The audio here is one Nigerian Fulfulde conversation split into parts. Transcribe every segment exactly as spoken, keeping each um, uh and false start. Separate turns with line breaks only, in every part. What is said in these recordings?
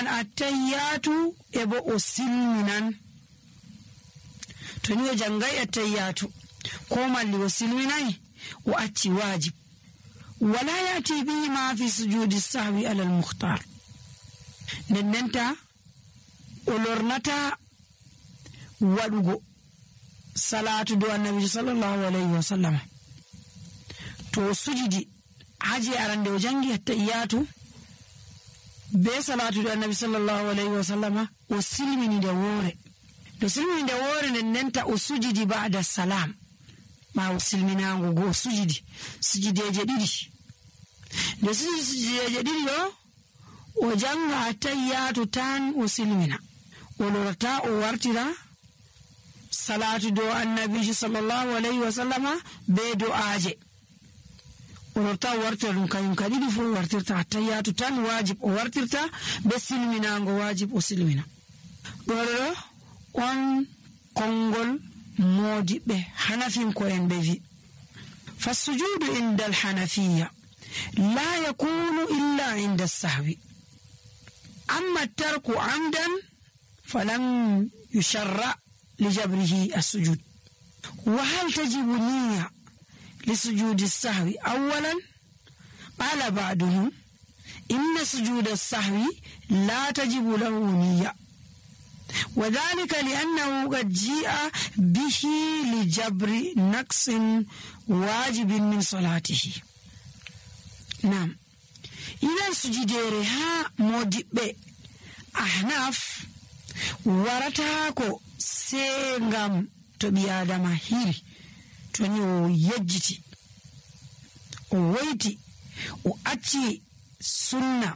wi'an attahiyatu e bo o silminan to ni o jangai attahiyatu ko malli o silminai o acci wajib wala yati bihi ma fi sujudi sahwi ala al-mukhtar nennenta o lornata wadugo salatu do annabi sallallahu alaihi wasallam to sujudi haji arande o jangi attahiyatu be salatu do annabi sallallahu alaihi wasallam o silmini de wore do silmini de wore nennenta o sujudi ba'da salam ma o silminango go sujudi sujudeje didi de sujudeje didi do o janga attahiyatu tan o silmina o lorata o wartira salatu do annabi sallallahu alaihi wasallama be du'aje o lorata o wartira dum kayum kadidi fu wartirta attahiyatu tan wajib o wartirta be silminango wajib o silmina do on kongol modibe hanafin ko en be vi fasujudu inda al-hanafiyya la yakunu illa inda as-sahwi amma tarku amdan falam yusharra lijabrihi as-sujud wa hal tajibu niyya lisujudi as-sahwi awwalan qala ba'duhum inna sujuda as-sahwi la tajibu lahu niyya وذلك لأنه قد جاء به لجبر نقص واجب من صلاته نعم إذا سجديرها مودب أحناف ورتاكو سيغم تبيادا ماهيري تونيو يجتي وويتي وأتي سنة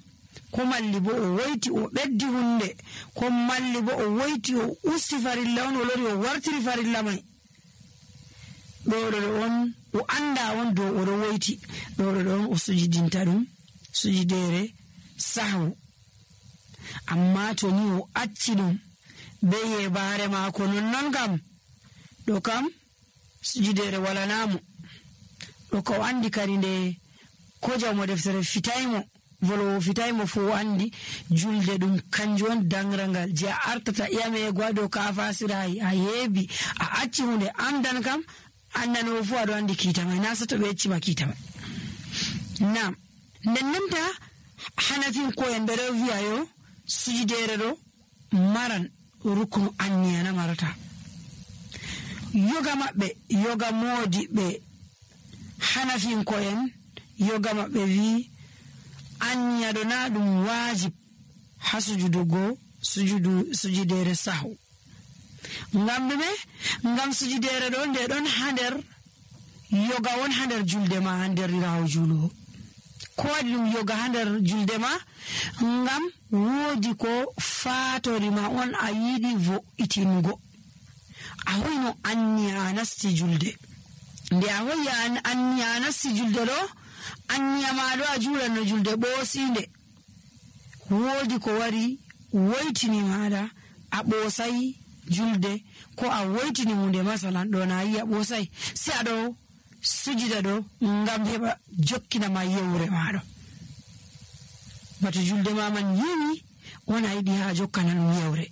ko malli bo o woyti o beddi hunde ko malli bo o woyti o usti farilla on o lori o wartiri farilla mai do do on o anda on do o woyti do do on o sujidinta dum sujidere sahwu amma to ni o acci dum be yebare mako non non kam do kam sujidere wala namu do ko andi kari nde ko jawmo deftere fitaymo volo fitaymo fu andi julde dum kanjon dangrangal je artata yame gwado ka fasirai a yebi a acci hunde amdan kam annano fu ado andi kita mai nasa to be acci ma kita mai nam nennenta hanafin ko en bere wiayo sujidere do maran rukunu anniyana marata yoga mabbe yoga modi be hanafin ko en yoga mabbe wi anya do na dum wajib hasujudu go sujudu sujudere sahu ngam be ngam sujudere do de don hander yoga won hander julde ma hander rawo julu ko dum yoga hander julde ma ngam wodi ko fatori ma on ayidi vo itingo ahoyno anya nasti julde nde ahoya anya nasti julde do anya ma do ajura no julde bosinde wodi ko wari woitini mada a bosai julde ko a woitini munde masalan do na yi a bosai si ado sujida do ngam heba jokkina ma yewre maado batu julde ma man yini wona yidi ha jokkana no yewre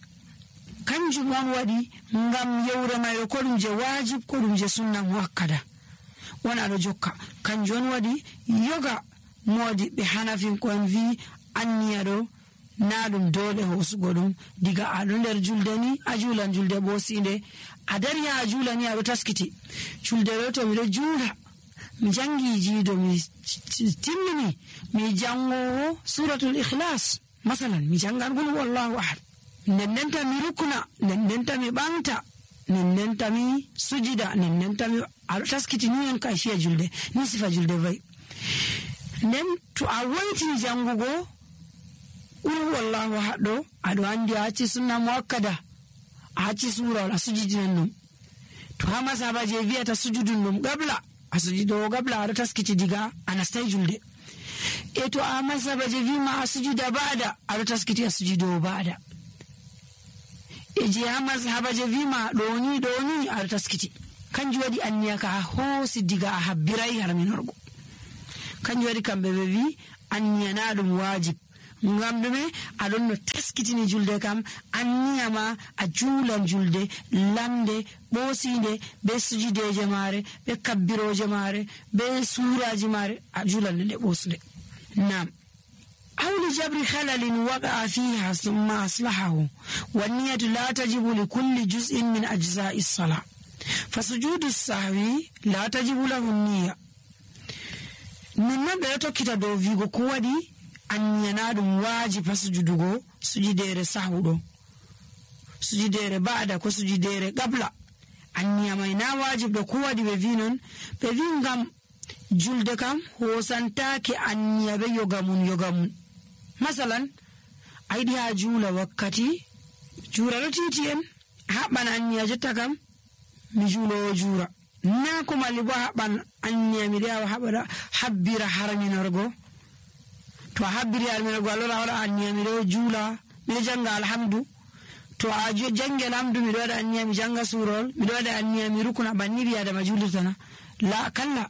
kanjum on wadi ngam yewre may ko dum je wajib ko dum je sunna muakkada wona do jokka kanjon wadi yoga modi be hanafin ko en vi anniya do nadum dole hosugo dum diga ado nder julde ni ajulan julde bosinde adari ya ajulani ado taskiti julde roto mi do jula mi jangi jido mi timmini mi jango suratul ikhlas masalan mi jangan gulu wallahu ahad nennenta mi rukuna nennenta mi bangta nennenta mi sujida nennenta mi ado taskiti ni en kai fiya julde ni sifa julde vai nen to a waiti jangugo ul wallahu hado ado andi aci sunna muakkada aci sura wala sujudin num to ha masaba je viata sujudun num gabla asujudo gabla ado taskiti diga anastai julde e to a masaba je vima asujuda bada ado taskiti asujudo bada e je ha masaba je vima doni doni ado taskiti kanji wadi anniya ka hosi diga habbirai harminorgo kanji wadi kambe be vi anniya na dum wajib ngam ɗume aɗon no taskitini julde kam anniyama a juulan julde lamde ɓoosinde be sujudeje maare be kabbiroje maare be suraji maare a juulan nde ɓosde. nam أو لجبر خلل وقع فيها ثم أصلحه والنية لا تجب لكل جزء من أجزاء الصلاة فسجود السهو لا تجب له النية. من بيتو كتا دو فيغو كوادي أن ينادم واجب سجودو سجدير سهو سجدير بعد كو سجدير قبل أن يمينا واجب دو كوادي بفينون بفين غم جلد كم هو سنتاكي أن يبي يغمون يغمون. masalan aidi ha juula wakkati juura do titien haɓɓan anniya jotta kam mi juulowo juura na ko malli bo haɓɓan anniya mi rewa haɓaɗa habbira harminorgo to a habbiri harminorgo alora waɗa anniya mi ɗo juula miɗo janga alhamdu to a jangi alhamdu miɗo waɗa anniya mi janga surol miɗo waɗa anniya mi rukuna banni bi adama julirtana la kalla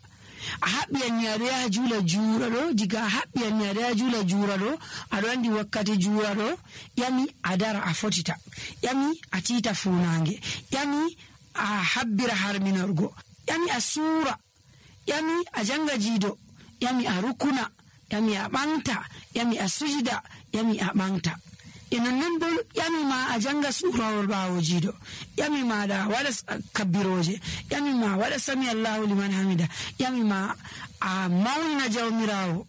a haɓɓi anniyaɗo yaha juula juura ɗo diga a haɓɓi anniyaɗo yaha juula juura ɗo aɗo andi wakkati juura ɗo ƴami a dara a fotita ƴami a tiita funange ƴami a habbira harminorgo ƴami a suura ƴami a janga jiido ƴami a rukuna ƴami a ɓamta ƴami a sujida ƴami a ɓamta e nonnon bo ƴami ma a janga suurawol ɓaawo jiido ƴami ma da waɗa kabbiroje ƴami ma waɗa sami allahu liman hamida ƴami ma a mawnina jawmirawo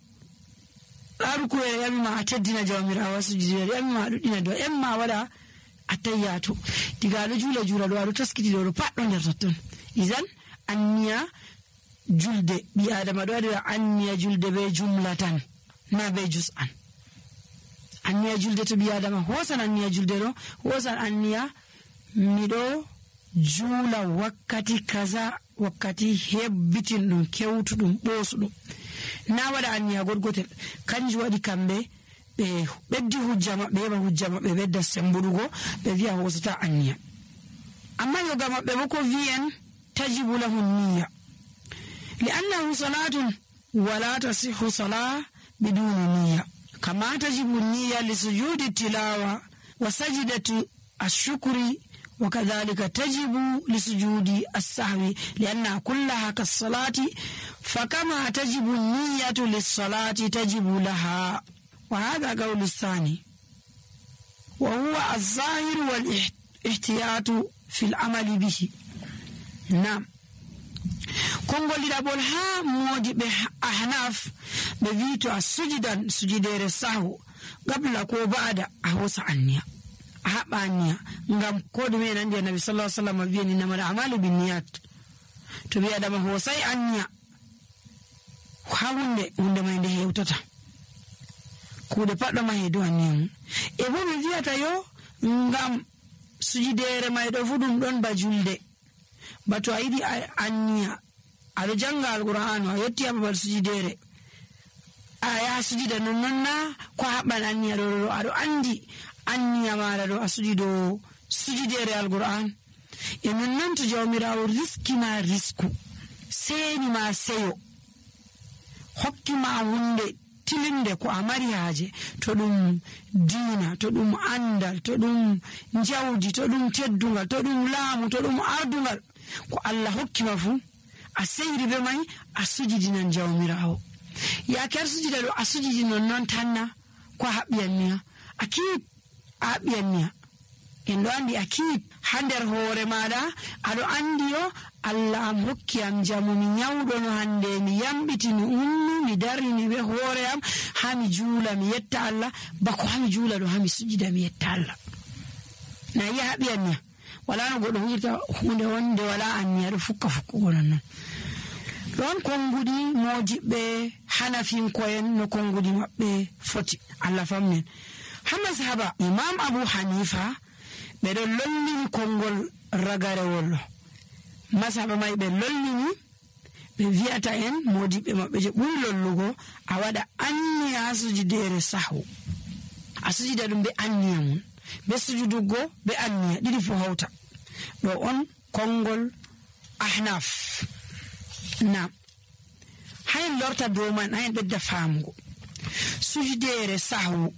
ɗarukuwe ƴami ma a teddina jawmirawo sujudere ƴami ma a ɗuɗɗina do ƴami ma waɗa attayyatu diga aɗo juula juula ɗo aɗo taskiti ɗo ɗo pat ɗo nder totton isan anniya julde ɓi adama ɗo waɗira anniya julde be jumlatan na be jus'an. anniya julde to ɓi adama hosan anniya julde ɗo hosan anniya miɗo juula wakkati kaza wakkati hebbitin ɗum kewtuɗum ɓoosuɗum na waɗa anniya goɗgotel kanjum waɗi kamɓe ɓe ɓeddi hujja maɓɓe heɓa hujja maɓɓe ɓedda sembuɗugo ɓe wiya hosata anniya. amma yoga maɓɓe bo ko wi'en tajibu lahu niya li annahu salatun wala tasihu salah biduni niya كما تجب النية لسجود التلاوة وسجدة الشكر وكذلك تجب لسجود السهو لأنها كلها كالصلاة فكما تجب النية للصلاة تجب لها. وهذا قول الثاني وهو الظاهر والاحتياط في العمل به. نعم kongoliraɓol ha modiɓe ahnaf ɓe wi to a sujidan sujidere sahu gabla ko baada a hosa anniya a haɓa anniya ngam ko ɗume en andi annabi sallallahu alaihi wasallam wi'ani innamal a'malu binniyat to wi adama hosai anniya ha hunde hunde mai nde hewtata kuuɗe paɗɗo ma heedu anniya mum e bo ɓe wiyata yo ngam sujidere mai ɗo fu ɗum ɗon ba julde ba to a yiɗi anniya aɗo janga alqur'anu a yetti ha babal sujidere a yaha sujida nonnon na ko haɓɓan anniya ɗo ɗo aɗo andi anniya maɗa ɗo a sujido sujidere alqur'an e nonnon to jawmirawo riskima risku seni ma seyo hokkima hunde tilinde ko a mari haaje to ɗum diina to ɗum andal to ɗum jawdi to ɗum teddungal to ɗum laamu to ɗum ardungal ko Allah hokkima fu a seyri be mai a sujidinan jawmirawo yaake ar sujida ɗo a sujidi nonnon tanna ko a haɓɓi anniya a kiip a haɓɓi anniya en ɗo andi a kiip ha nder hoore maɗa aɗo andi yo Allah am hokki am jamu mi nyawɗo no hande mi yamɓiti mi ummi mi darini be hoore am ha mi juula mi yetta Allah bako ha mi juula ɗo ha mi sujida mi yetta Allah na yi a haɓɓi anniya wala no goɗɗo hujirta hunde wonde wala anniya ɗo fukka fukkugo nonnon ɗon konngudi mojiɓɓe hanafinko'en no konngudi maɓɓe foti Allah famnen ha mazhaba imam Abu Hanifa ɓe ɗon lollini konngol ragarewol mazhaba mai ɓe lollini ɓe wi'ata en modiɓɓe maɓɓe je ɓuri lollugo a waɗa anniya ha sujudere sahu a sujida ɗum be anniya mum be sujudugo be anniya ɗiɗi fu hawta ɗo on konngol ahnaf. Nam hayen lorta dow man hayen ɓedda famugo sujudere sahu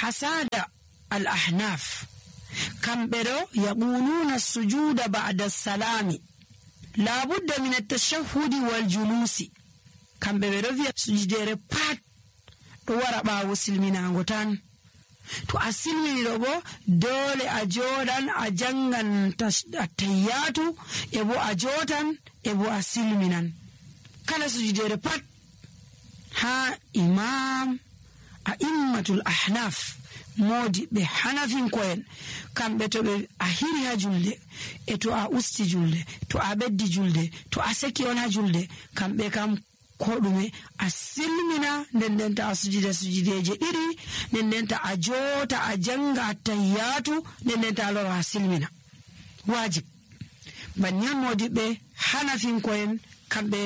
hasada al ahnaf kamɓe ɗo yaquluna sujuda ba'da salami la budda min at-tashahhudi wal julusi kamɓe ɓe ɗo wi'a sujudere pat ɗo wara ɓaawo silminago tan. To a silmini ɗo bo dole a joɗan a jangan tayyatu e bo a jotan e bo a silminan. Kala sujudere pat ha imam a immatul ahnaf modi ɓe hanafinko'en kamɓe to ɓe a hiri ha julde e to a usti julde to a ɓeddi julde to a seki on ha julde kamɓe kam ko ɗume a silmina nden ndenta a sujida sujudeje ɗiɗi nden ndenta a jota a janga a tayyatu nden ndenta a lora a silmina wajib. banni on modiɓɓe hanafinko'en kamɓe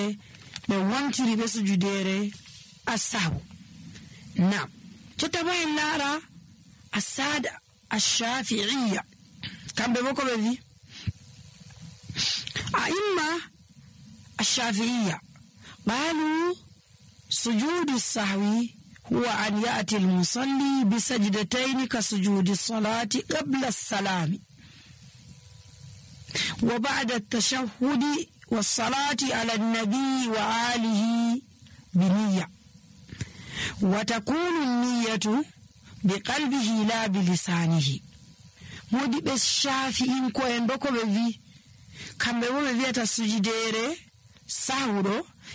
ɓe wontiri ɓe sujudere assahu. nam jotta bo en laara asada ashafi'iyya kamɓe bo ko ɓe wi a imma ashafi'iyya قالوا سجود السهو هو أن يأتي المصلي بسجدتين كسجود الصلاة قبل السلام وبعد التشهد والصلاة على النبي وآله بنية وتكون النية بقلبه لا بلسانه. مودي بالشافعين كوين بكو بفي كم بفي بفي تسجدير سهو